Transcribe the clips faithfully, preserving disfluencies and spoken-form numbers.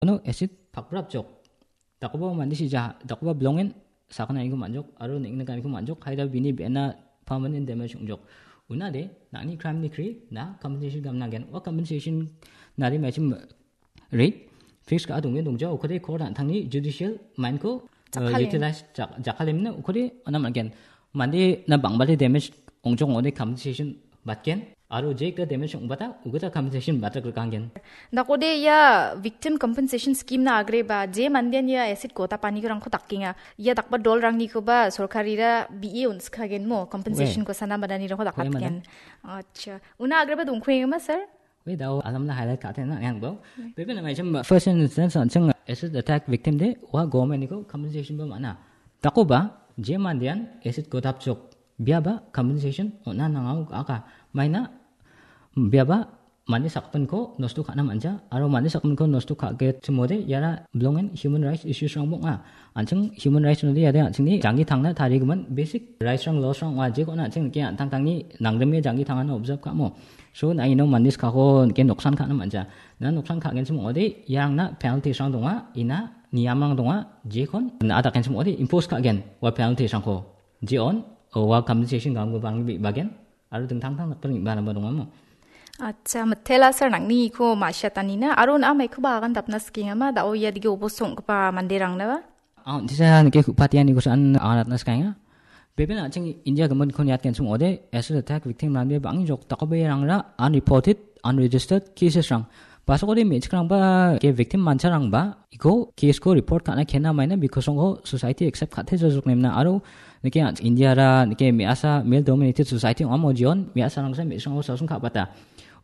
Uno acid pakrapjok. Dakoba mande sija, dakoba bilongen sakana iko manjok, aro neng·na kaniko manjok, haida bini bena permanent damage ongjok. Unade, nangni crime ni kri, na compensation gamna gen. Wa compensation nari machim rate fix ka adonge dongja, okode court antangni judicial mind ko, uh, Jakkalem. Utilize jak-, jakkalem na okode anam again. Mande na bangbade damage ongjok ode compensation batgen. Aro jek da damage ongbata, ugita compensation batak rekangen. Dakode ia victim compensation scheme na agreba, je mandian ia acid gota pani rangko dakenga. Ia dakba dol rangnikoba sorkarira B E unskagen mo, compensation We. Ko sana badani rangko We, dakatgen. Madam. Acha. Una agreba dongkuenga ma, sir? We dao alamna highlight kate na yang bo. Bebe na mai chem first instance an cheng acid attack victim de wa government ni ko compensation ba mana. Tako ba je mandian acid ko dapchok bia ba compensation ona nangau aka maina bia ba mani sakpen ko nosto kana manja aro mani sakpen ko nosto ka ge chimode yara belongen human rights issues rang bong a. An cheng human rights nodi yade an chengni janggi tangna tari guman basic rights rang laws rang wa je ko na an cheng ke an tang tangni nangdeme janggi tangana observe ka mo. So, na ino mandis kako ke noksan ka·na manja. Na noksan ka·gen sim ong·ode, iarangna penalty sang donga, ina niamrang donga, jekon na adaken sim ong·ode, impose ka·gen, wa penalty sangko. Jeon, wa compensation gam gubang bi bagen, aro dingtang tang nakpar ba namba donga mo. Acha, mitela sir nangni iko masya tanina, aro na maiko ba agan dapna skinga ma, dao ia dige obosong kepa manderang na ba? Ah, disa nike kupatian iko san agan dapna skinga. Beben aching India gemon kon yat kensum ode, acid attack victim ran be bangi jok takobe rangra unreported, unregistered cases rang. Pasok ode mechik rang ba ke victim mancha rang ba, iko case ko report kana kena maina bikosong ko society accept kate jok nemna aro nike India ra, nike me asa male dominated society ong amo jion, me asa rang sa mechik rang ko sasung ka bata.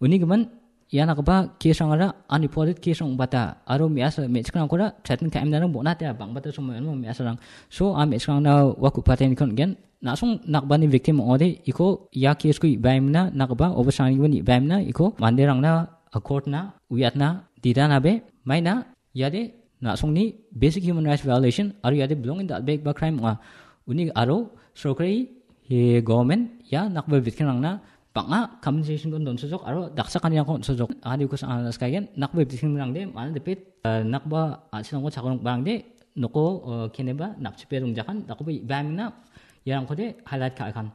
Uni gemon ia nakba case rangara unreported case rang bata. Aro me asa mechik rang kora threaten ka emna rang bona te bang bata somo emo me asa rang. So a mechik rang na wa kupate ni kon gen. Nasong nakbani victim ong·ode iko ia case ko ibaimna nakba obosrangni ibaimna iko manderangna, uh, court na, uyatna, didana be, maina, iade, nasongni basic human rights violation, aro iade belonging dal·begipa crime ong·a. Uni aro sorkari, he, government, ia nakba victim rangna bang·a compensation ko donsojok, aro dakchakanirangko on·sojok. Ani uko sa-, ah, sekalian, nakba victim rangde, mana depit, uh, nakba, ah, sinangko chakrongbarangde, noko, uh, keneba napchipe rongjakan, dakoba ibaimna iarangkode highlight ka·akan.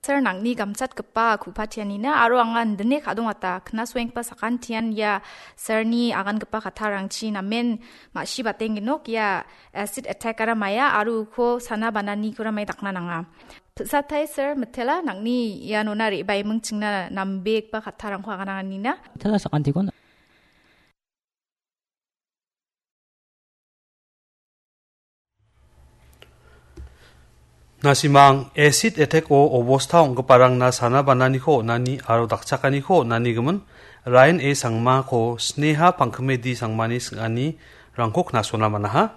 Sir, nangni gamchatgipa kupatianina aro anga indine ka·dongata. Knasoenggipa sakantian ia sirni agangipa kattarangchi namen ma·sibatengenok ia acid attack-ara maia aro uko sana bananikora mai dakna nanga. Pisatai sir, mitela nangni ianona re·baiming chingna nambegipa kattarangko agananganina. Mitela sakantikon. Nasimang acid attack-o obosta ong·giparangna sana bananiko on·ani aro dakchakaniko on·ani gimin Ryan A Sangmako Sneha Pangkmedi Sangmani sing·anirangko knasona man·aha.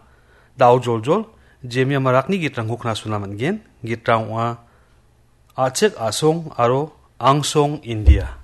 Dao joljol, Jemia Marakni gitrangko knasona man·gen. Gitrang ong·a A·chik A·song aro Angsong India.